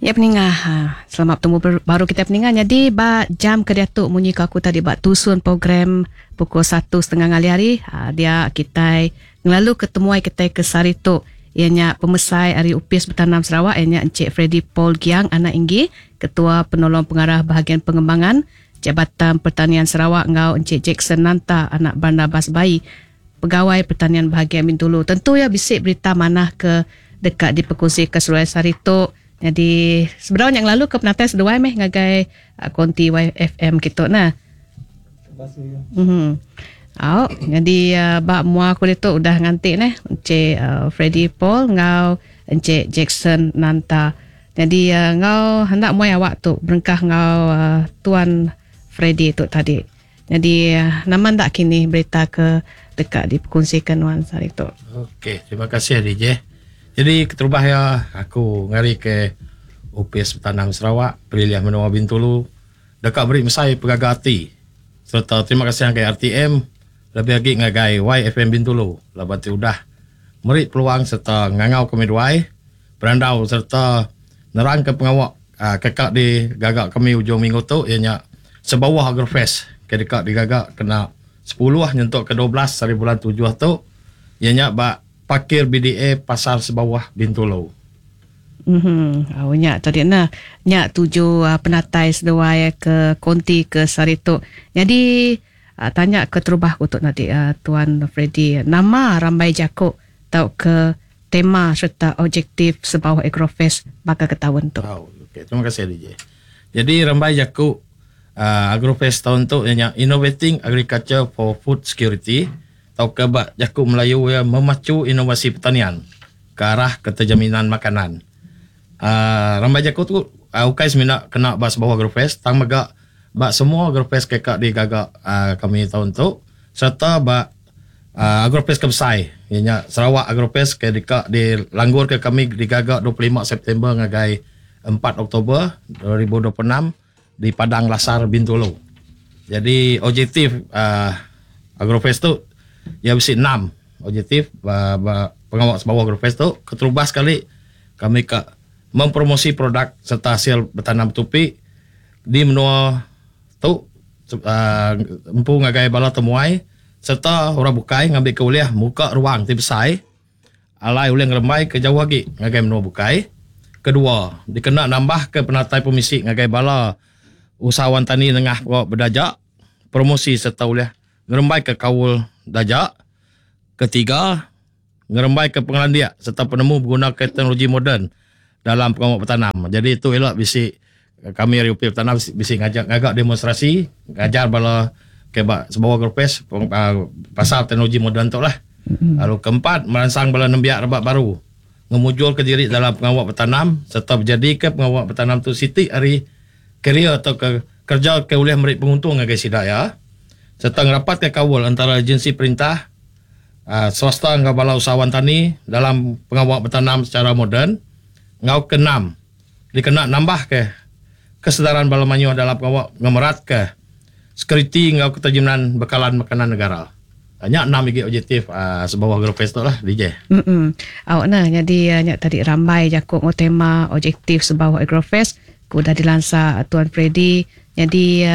Ya peninga, selamat betemu baru kita peninga. Nyadi ba jam ke diatu munyi ko aku tadi ba tusun program pukul satu setengah ngalih hari dia kitai ngelalu ke temuai kitai ke sehari tu iya nya pemesai ari Opis Betanam Sarawak iya nya Encik Freddy Paul Giang anak Inggi, Ketua Penolong Pengarah Bahagian Pengembangan Jabatan Pertanian Sarawak enggau Encik Jackson Nanta anak Barnabas Baie Pegawai Pertanian Bahagian Bintulu. Tentu iya bisi berita manah ke deka dipekunsika seduai sehari tu. Nyadi sebedau nya ngelalu ke penatai seduai meh ngagai konti YFM kitu nah. Mhm. Au, nyadi ba mua aku ditu udah nganti neh Encik Freddy Paul enggau Encik Jackson Nanta. Nyadi enggau enda muai awak tu berengkah enggau Tuan Freddy tu tadi. Nyadi nama enda kini berita ke deka dipekunsika nuan sehari tu? Okey, terima kasih DJ. Jadi keterubah iya aku ngari ke Opis Betanam Sarawak Pelilih Menua Bintulu deka meri mesai pegaga ati sereta terima kasih ngagai RTM lebih agi ngagai YFM Bintulu laban ti udah meri peluang sereta ngangau kami duai berandau sereta nerangka pengawa ke ka digaga kami ujung minggu tu iya nya Sebauh Agrofest ke deka digaga kena sepuluh nyentuk ke 12 hari bulan tujuh tu iya nya ba Parkir BDA Pasar Sebauh Bintulu. Uhh au nya tadi nah. Nya tuju penatai seduai ke konti ke sehari tu. Nyadi tanya keterubah ku tu tadi Tuan Freddy nama rambai jaku tauka tema sereta objektif Sebauh Agrofest baka ke taun tu. Au, okey. Terima kasih DJ. Jadi rambai jaku uhh Agrofest taun tu iya nya Innovating Agriculture for Food Security tauka ba jaku Melayu iya Memacu Inovasi Pertanian ke Arah Keterjaminan Makanan. Uhh rambai jaku tu ukai semina kena ba Sebauh Agrofest tang mega ba semua Agrofest ke ka digaga uhh kami taun tu sereta ba Agrofest ke besai iya nya Sarawak Agrofest ke deka dilanggurka kami digaga 25 September ngagai 4 Oktober 2026 di Padang Lasar Bintulu. Jadi objektif uhh Agrofest tu iya bisi enam objektif ba ba pengawa Sarawak Agrofest tu. Keterubah sekali kami ka mempromosi produk sereta asil betanam betupi di menua tu uhh empu ngagai bala temuai sereta orang bukai ngambika ulih muka ruang ti besai alai ulih ngerembaika jauh agi ngagai menua bukai. Kedua, dikena nambahka penatai pemisi ngagai bala usahawan tani nengah pengawa bedaja, promosi sereta ulih ngerembaika kaul daja. Ketiga, ngerembaika pengelandik sereta penemu begunaka teknologi moden dalam pengawa betanam. Jadi tu ila bisi kami ari Opis Betanam bisi ngajar ngaga demonstrasi ngajar bala ke ba Sebawah Grupes pasal teknologi moden tu lah. Lalu keempat meransang bala nembiak rebak baru ngemujurka diri dalam pengawa betanam sereta bejadika pengawa betanam tu siti ari karier tauka kereja ke ulih meri penguntung ngagai sida iya sereta ngerapatka kaul antara agensi perintah swasta enggau bala usahawan tani dalam pengawa betanam sechara moden enggau keenam dikena nambahka kesedaran bala mayuh dalam pengawa ngemeratka sekuriti enggau keterjaminan bekalan makanan negara. Nya enam igi objektif sebauh Agrofest tu lah DJ. Em Au nah nyadi nya tadi rambai jaku enggau tema objektif sebauh Agrofest ke udah dilansa Tuan Freddy. Nyadi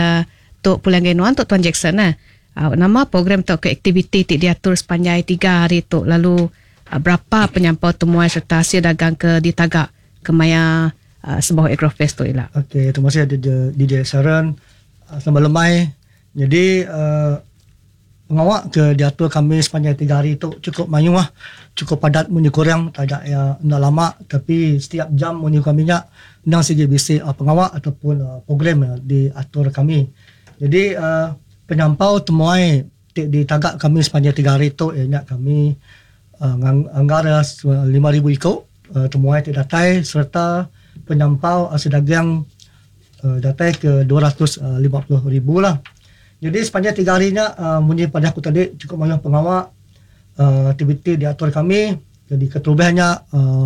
tu pulai ngagai nuan tu Tuan Jackson nah. Au nama program tauka aktiviti ti diatur sepanjai tiga hari tu lalu berapa penyampau temuai sereta asil dagang ke ditaga kemaya Sebauh Agrofest tu ila. Okey, terima kasih DJ Sharon. Selamat lemai. Nyadi pengawa ke diatur kami sepanjai tiga hari tu chukup mayuh, chukup padat munyi kurang taja iya enda lama tapi setiap jam munyi kami nya endang sigi bisi pengawa ataupun program diatur kami. Jadi penyampau temuai ti ditaga kami sepanjai tiga hari tu iya nya kami anggar 5000 iku. Temuai ti datai sereta penyampau asil dagang datai ke 250 ribu lah. Jadi sepanjang tiga hari nya munyi padah aku tadi chukup mayuh pengawa aktiviti diatur kami. Jadi keterubah nya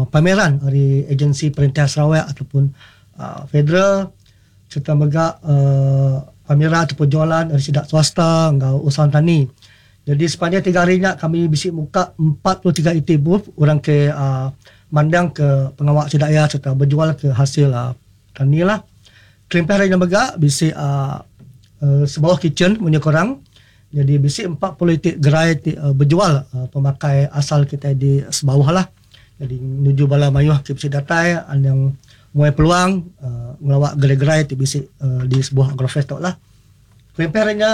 pameran ari agensi perintah Sarawak ataupun federal sereta mega pameran ataupun jualan ari sida swasta enggau usahawan tani. Jadi sepanjang tiga hari nya kami bisi muka 43 iti booth orang ke. mandang ke pengawa sida iya sereta bejual ke hasil tani lah. Kelimpah ari nya mega bisi uhh Sebauh Kitchen munyi ku orang. Nyadi bisi 40 iti gerai ti bejual pemakai asal kitai di Sebauh lah. Nyadi nuju bala mayuh ti bisi datai anang muai peluang ngelawa gerai-gerai ti bisi di Sebauh Agrofest tu lah. Kelimpah ari nya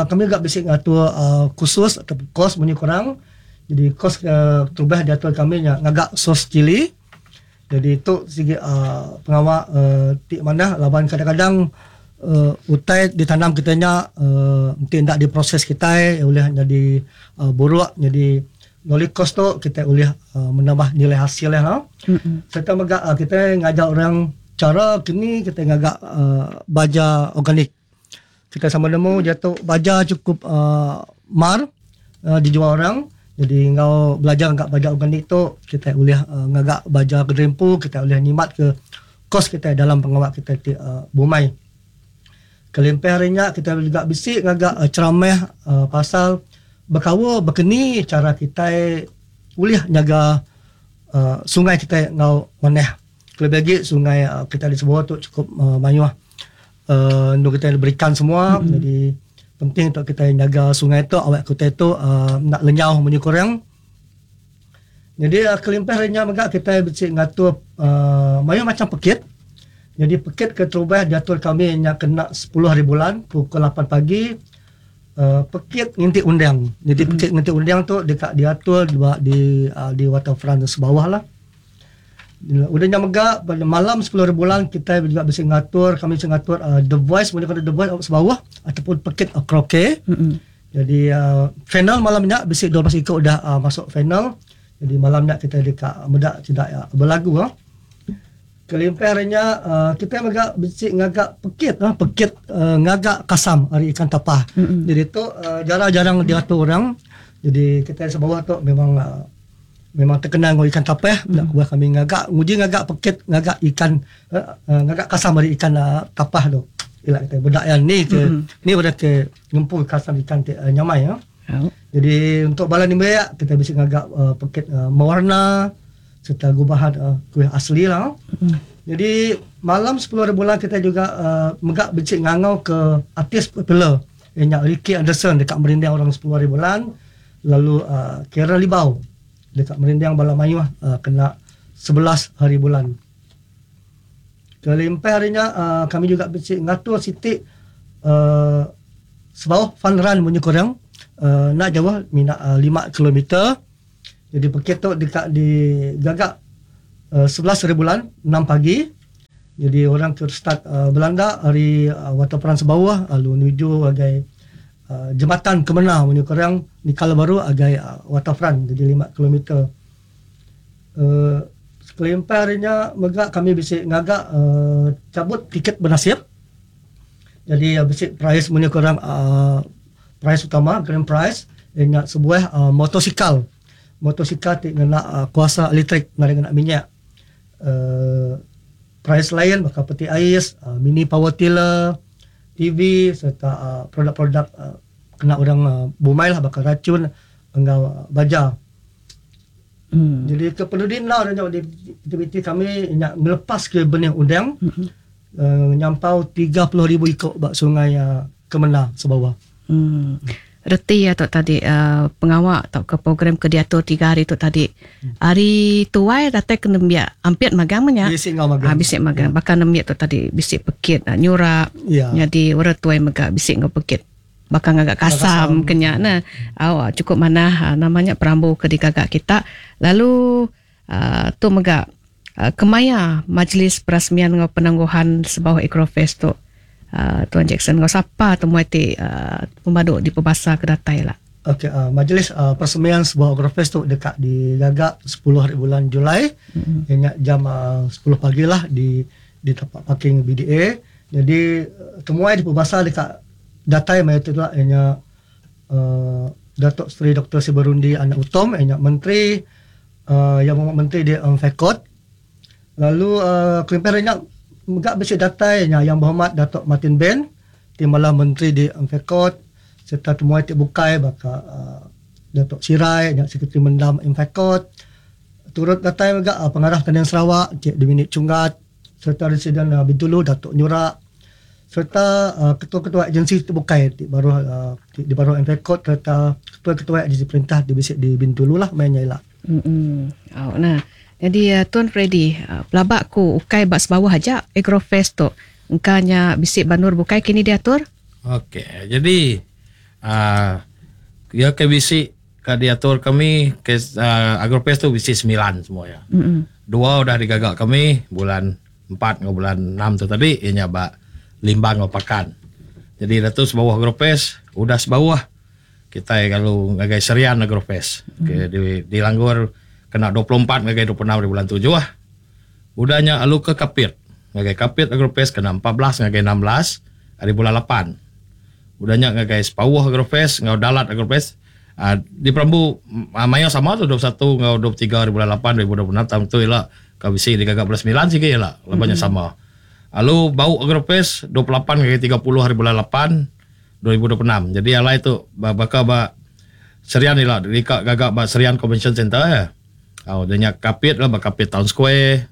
kami mega bisi ngatur kursus atau kos munyi ku orang. Jadi kos ke terubah diatur kami nya ngaga sos cili. Jadi tu sigi pengawa ti manah laban kadang-kadang utai ditanam kitai nya enti enda diproses kitai ulih nyadi buruk nyadi melalui kos tu kitai ulih menambah nilai hasil iya. Sereta mega kitai ngajar orang chara kini kitai ngaga baja organik. Kitai sama nemu diatu baja chukup uhh mar uhh dijual orang jadi enggau belajar ngaga baja organik tu kitai ulih uhh ngaga baja ke diri empu kitai ulih nyimat ke kos kitai dalam pengawa kitai ti uhh bumai. Kelimpah ari nya kitai juga bisi ngaga ceramah uhh pasal bekaul bekeni chara kitai ulih nyaga uhh sungai kitai enggau manah kelebih agi sungai kitai di Sebauh tu chukup mayuh. uhh endur kitai berikan semua mm-hmm. jadi penting untuk kitai nyaga sungai tu awak kitai tu uhh enda lenyau munyi kurang jadi uh, kelimpah ari nya mega kitai bisi ngatur uhh mayuh macam pekit jadi pekit keterubah diatur kami nya kena 10 hari bulan pukul 8 pagi uhh pekit nginti undang jadi mm-hmm. pekit nginti undang tu deka diatur di di, uh, di waterfront sebawah lah. Udah nya mega pada malam 10 hari bulan kitai juga bisi ngatur kami bisi ngatur uh, The Voice mung The Voice sebawah ataupun pekit uh, karaoke. Mm-hmm. Jadi uh, final malam nya bisi 12 iku udah uh, masuk final. Jadi malam nya kita deka meda sida uh, berlagu. Uh. Kelimpah ari nya uh, kita mega bisi ngaga pekit uh, pekit uh, ngaga kasam ari ikan tapah. Mm-hmm. Jadi tu uh, jarang-jarang diatur orang. Jadi kita sebawah tu memang uh, Memang terkenal enggau ikan tapah enda kebuah kami ngaga nguji ngaga pekit ngaga ikan ngaga kasam ari ikan tapah tu. Ila kitai meda iya ni ke ni udah ke ngempu kasam ikan ti nyamai ya. Jadi untuk bala nembiak kitai bisi ngaga pekit mewarna serta gubahan kuih asli lah. Jadi malam 10 hari bulan kitai juga mega bisi ngangau ke artis popular iya nya Ricky Anderson deka merindang orang 10 hari bulan. Lalu Karen Libau deka merinding bala mayuh kena 11 hari bulan. Kelimpah ari nya kami juga bisi ngatur siti sebauh fun run munyi ku orang enda jauh mina 5 kilometer. Jadi pekit tu deka digaga 11 hari bulan 6 pagi. Jadi orang ke start belanda ari Waterfront Sebauh lalu nuju ngagai Jematan Kemena munyi ku orang nikal baru agai Waterfront jadi 5 kilometer. Kelimpah ari nya mega kami bisi ngaga cabut tiket benasip. Jadi bisi prize munyi ku orang prize utama grand prize iya nya sebuah motosikal. Motosikal ti ngena kuasa elektrik nadai ngena minyak. Prize lain baka peti ais, mini power tiller. TV sereta produk-produk kena orang bumai lah baka racun enggau baja. Jadi ke penudi enda nya aktiviti kami nya ngelepas ke benih undang nyampau 30,000 iko ba sungai Kemena Sebawah. Reti iya tu tadi pengawa tauka program ke diatur tiga hari tu tadi. Hari tuai datai ke nembiak ampit magang meh nya. Bisi enggau magang. Bisi magang. Baka nembiak tu tadi bisi pekit nyurak. Nyadi orang tuai mega bisi enggau pekit baka ngaga kasam ke nya neh. Au chukup manah nama nya perambu ke digaga kita. Lalu tu mega Kemaya majlis perasmian enggau penangguhan Sebauh Agrofest tu Tuan Jackson enggau sapa temuai ti pemadu dipebasa ke datai ila? Okey majlis perasmian Sebauh Agrofest tu deka digaga 10 hari bulan Julai iya nya jam 10 pagi lah di di tapak parking BDA. Jadi temuai dipebasa deka datai maya tu ila iya nya Datuk Seri Doktor Sibarundi Anak Utom iya nya Menteri Iya mung menteri di Mfecot. Lalu kelimpah ari nya mega bisi datai nya Yang Berhormat Datuk Martin Ben ti malah menteri di Mfecot sereta temuai ti bukai baka Datuk Sirai nya Sekretari Mendam Mfecot. Turut datai mega Pengarah Pertanian Sarawak Encik Dominic Chunggat sereta Residen Bintulu Datuk Nyurak sereta ketua-ketua agensi ti bukai ti baruh ti di baruh MFECOT sereta ketua-ketua agensi perintah ti bisi di Bintulu lah maya nya ila. Emm au nah. Nyadi Tuan Freddy pelaba ku ukai ba sebawah aja Agrofest tu engka nya bisi ba endur bukai kini diatur? Okey jadi aaa iya ke bisi Ka diatur kami ke Agrofest tu bisi semilan semua iya. Dua udah digaga kami bulan empat enggau bulan enam tu tadi iya nya ba Limbang enggau Pakan. Jadi dah tu sebauh Agrofest udah sebauh kitai lalu ngagai Serian Agrofest ke di dilanggur kena 24 ngagai 26 ari bulan tujuh. Udah nya lalu ke Kapit ngagai Kapit Agrofest kena 14 ngagai 16 ari bulan lapan. Udah nya ngagai Sepauh Agrofest enggau Dalat Agrofest diperambu mayuh sama tu 21 enggau 23 hari bulan lapan 2026 taun tu ila ka bisi digaga bulan semilan sigi ila laban nya sama. Lalu Bau Agrofest 28 ngagai 30 hari bulan lapan 2026. Jadi alai tu baka ba Serian ila dika gaga ba Serian Convention Centre eh. Au udah nya Kapit la ba Kapit Town Square.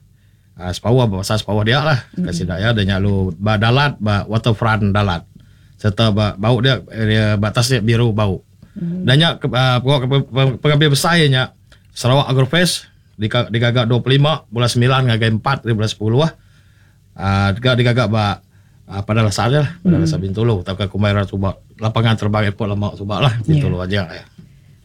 Sepauh ba pasar Sepauh dia lah ka sida iya da nya lalu ba Dalat ba Waterfront Dalat sereta ba bau dia area ba tasik biru bau. Da nya pengambil besai nya Sarawak Agrofest digaga 25 bulan semilan ngagai empat ari bulan sepuluh uhh ga digaga ba Padang Besar lah Padang Besar Bintulu tauka kumbai orang suba lapangan terbang airport lama suba lah Bintulu aja.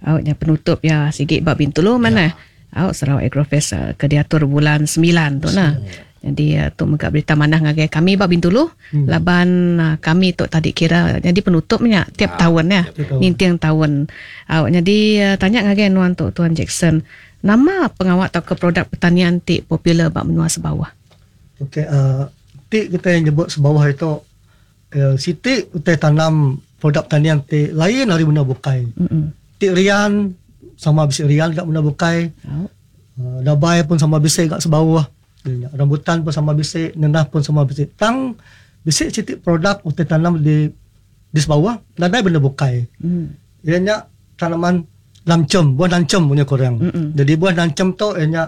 Au nya penutup iya sigi ba Bintulu manah. Au Sarawak Agrofest ke diatur bulan semilan tu nah. Jadi tu mega berita manah ngagai kami ba Bintulu hmm. laban kami tu tadi kira jadi penutup nya tiap ha, taun ya. Ninting taun. Au jadi tanya ngagai nuan tu Tuan Jackson, nama pengawa tauka produk pertanian ti popular ba menua Sebawah? Okey, uh, ti kita nyebut Sebawah itu uh, siti utai tanam produk pertanian ti lain ari menua bukai. Mm-hmm. Ti rian sama bisi rian ga menua bukai. Oh. Dabai pun sama bisi ga sebauh. Rambutan pun sama bisi, nenah pun sama bisi. Tang bisi siti produk utai tanam di di sebauh nadai benda bukai. Mm. Iya nya tanaman lancem, buah lancem punya korang. Mm-hmm. Jadi buah lancem tu iya nya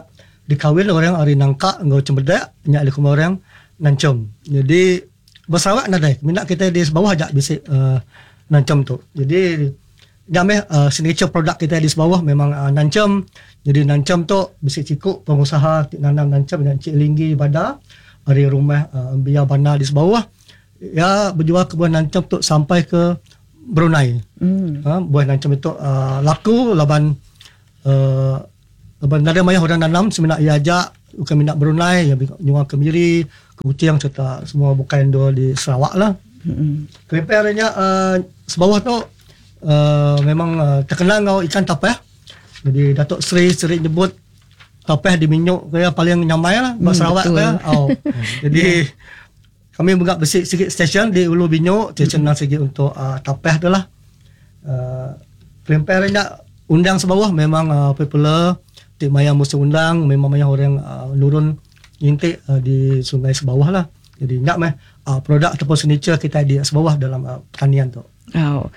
dikawin orang ari nangka enggau cempedak nya dikumbai orang lancem. Jadi Ba Sarawak nadai, mina kitai di Sebauh aja bisi uhh nanchem tu. Jadi nya meh uhh signature product kitai di Sebauh memang uhh nanchem. Jadi nanchem tu bisi siku pengusaha ti nanam nanchem nya Encik Linggi Bada ari rumah uhh Embia Bana di Sebauh. Iya bejual ke buah nanchem tu sampai ke Brunei. Uhh buah nanchem itu uhh laku laban uhh Laban nadai mayuh orang nanam semina iya aja bukan mina Brunei iya nyual ke Miri, ke Kuching sereta semua bukai endur di Sarawak lah. Kelimpah ari nya uhh sebauh tu uhh memang terkenal enggau ikan tapah. Jadi Dato Sri seri nyebut tapah di Minyu ke iya paling nyamai lah ba Sarawak ke. Au. Jadi kami mega bisi sigi stesen di Ulu Binyu stesen nang sigi untuk uhh tapah tu lah. Uhh kelimpah ari nya undang sebauh memang uhh popular ti maya musim undang memang mayuh orang uhh nurun nginti uhh di sungai sebauh lah. Jadi nya meh uhh produk ataupun signature kitai di sebauh dalam uhh pertanian tu. Au.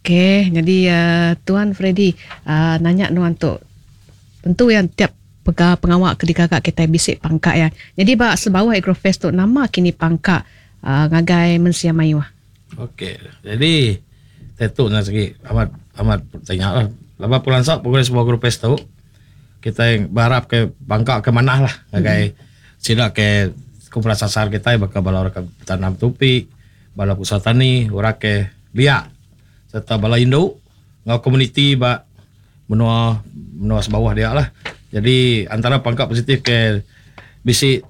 Okey nyadi uhh Tuan Freddy uhh nanya nuan tu tentu iya tiap pega pengawa ke digaga kitai bisi pangka iya. Nyadi ba sebauh Agrofest tu nama kini pangka uhh ngagai mensia mayuh? Okey, jadi tetu nya segi amat amat tanya lah. Laban pelansa program sebuah group pes tu kitai berharap ke bangka ke manah lah ngagai sida ke kumpulan sasar kitai baka bala orang ke betanam tupi, bala pengusaha tani, orang ke biak serta bala indu enggau komuniti ba menua menua sebauh dia lah. Jadi antara pangka positif ke bisi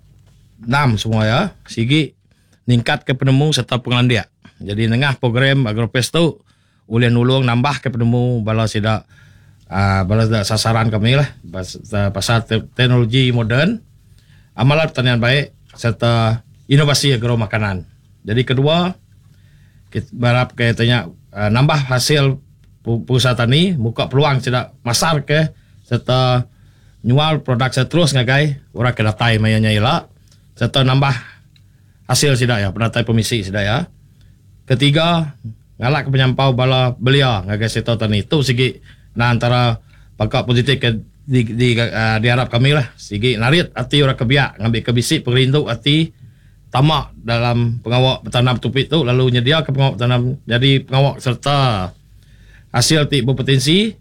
enam semua iya sigi ningkatka penemu sereta pengelandik. Jadi nengah program Agrofest tu ulih nulung nambahka penemu bala sida uhh bala sida sasaran kami lah pasal teknologi moden, amalan pertanian baik sereta inovasi agro makanan. Jadi kedua berharap ke ita nya nambah hasil pengusaha tani muka peluang sida masar ke sereta nyual produk sida terus ngagai orang ke datai maya nya ila. Sereta nambah asil sida iya, penatai pemisi sida iya. Ketiga, ngalakka penyampau bala belia ngagai sektor tani. Tu sigi endang antara pangka positif ke. di di uh, diharap kami lah sigi narit ati orang ke biak ngambika bisi pengerindu ati tama dalam pengawa betanam tupi tu lalu nyediaka pengawa betanam nyadi pengawa sereta asil ti bepotensi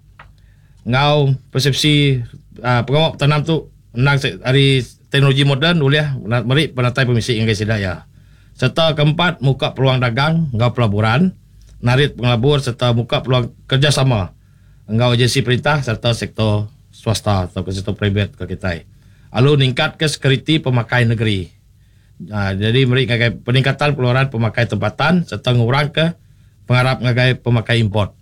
enggau persepsi uh, pengawa betanam tu endang ari teknologi moden ulih meri penatai pemisi ngagai sida iya. Sereta keempat muka peluang dagang enggau pelaburan, narit pengelabur sereta muka peluang kerejasama enggau agensi perintah sereta sektor swasta tauka sektor private ke kitai alu ningkatka sekuriti pemakai negeri. Jadi meri ngagai peningkatan pengeluaran pemakai tempatan sereta ngurangka pengarap ngagai pemakai import.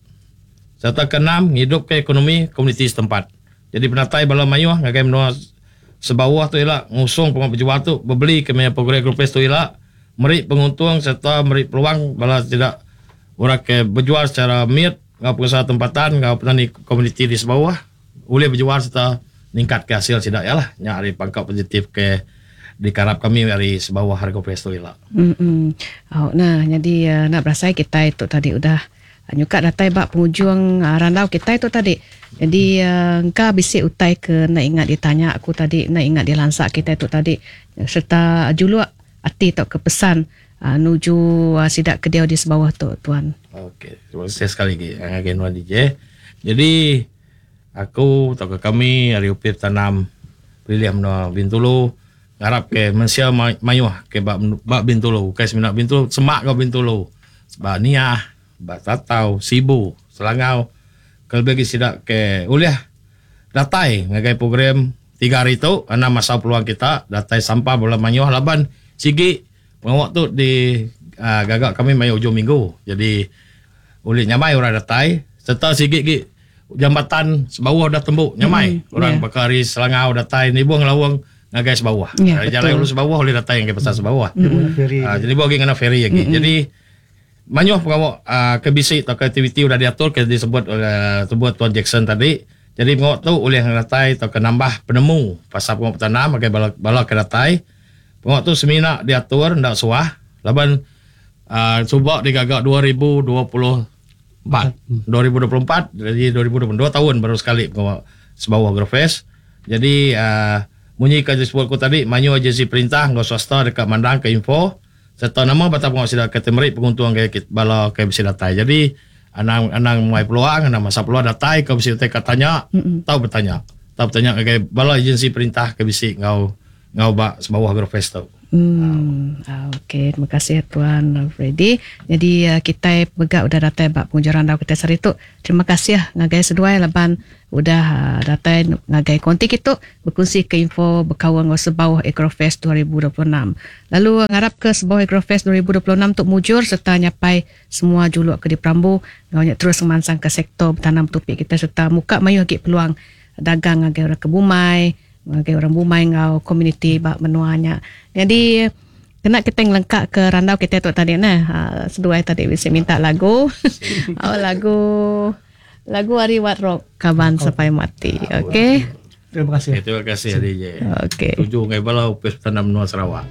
Sereta keenam ngidupka ekonomi komuniti setempat. Jadi penatai bala mayuh ngagai menua Sebauh tu ila ngusung pengawa bejual tu bebeli ke maya program Agrofest tu ila meri penguntung sereta meri peluang bala sida orang ke bejual secara mit enggau pengusaha tempatan enggau petani komuniti di Sebauh ulih bejual sereta ningkatka asil sida iya lah. Nya ari pangka positif ke dikarap kami ari Sebauh Agrofest tu ila. Mm. Au nah nyadi enda berasai kitai tu tadi udah nyuka datai ba pengujung randau kitai tu tadi. Jadi engka bisi utai ke enda ingat ditanya aku tadi, enda ingat dilansa kitai tu tadi sereta juluk ati tauka pesan nuju sida ke diau di sebauh tu tuan. Okey, terima kasih sekali agi ngagai nuan DJ. Jadi aku tauka kami ari Opis Tanam Pelilih Menua Bintulu ngarap ke mensia mayuh ke ba ba Bintulu ukai semina Bintulu semak enggau Bintulu ba Niah, ba Tatau, Sibu, Selangau ke lebih agi sida ke ulih datai ngagai program tiga hari tu anang masau peluang kita datai sampah bala mayuh laban sigi pengawa tu di aaa gaga kami maya ujung minggu jadi ulih nyamai orang datai sereta sigi agi jambatan Sebauh udah tembu nyamai orang baka ari Selangau datai nibung laung ngagai Sebauh. Ari jalai ulu Sebauh ulih datai ngagai pasar Sebauh. Aaa jadi agi ngena feri agi. Jadi mayuh pengawa aaa ke bisi tauka aktiviti udah diatur ke disebut aaa sebut Tuan Jackson tadi. Jadi pengawa tu ulih ngenatai tauka nambah penemu pasal pengawa betanam ngagai bala bala ke datai. Pengawa tu semina diatur enda suah laban aaa suba digaga 2024. 2024 jadi 2022 taun baru sekali pengawa Sebauh Agrofest. Jadi aaa munyi ke disebut ku tadi mayuh agensi perintah enggau swasta deka mandangka info sereta nama batang pengawa sida ke ti meri penguntung ngagai bala ke bisi datai. Jadi anang anang muai peluang anang masa peluang datai ke bisi utai ka tanya tau betanya. Tau betanya ngagai bala agensi perintah ke bisi enggau enggau ba Sebauh Agrofest tu. Hmm, okey. Terima kasih Tuan Freddy. Jadi kitai mega udah datai ba penghujung randau kitai sehari tu. Terima kasih ngagai seduai laban udah datai ngagai konti kitu bekunsi ke info bekaul enggau Sebauh Agrofest 2026. Lalu ngarap ke Sebauh Agrofest 2026 tu mujur sereta nyapai semua juluk ke diperambu enggau nya terus ngemansangka sektor betanam betupi kitai sereta muka mayuh agi peluang dagang ngagai orang ke bumai, ngagai orang bumai enggau komuniti ba menua nya. Nyadi kena kitai ngelengka ke randau kitai tu tadi neh seduai tadi bisi minta lagu. Oh lagu lagu ari Wat Rock Kaban Sampai Mati. Okey. Terima kasih. Terima kasih DJ. Okey. Tuju ngagai bala Opis Tanah Menua Sarawak.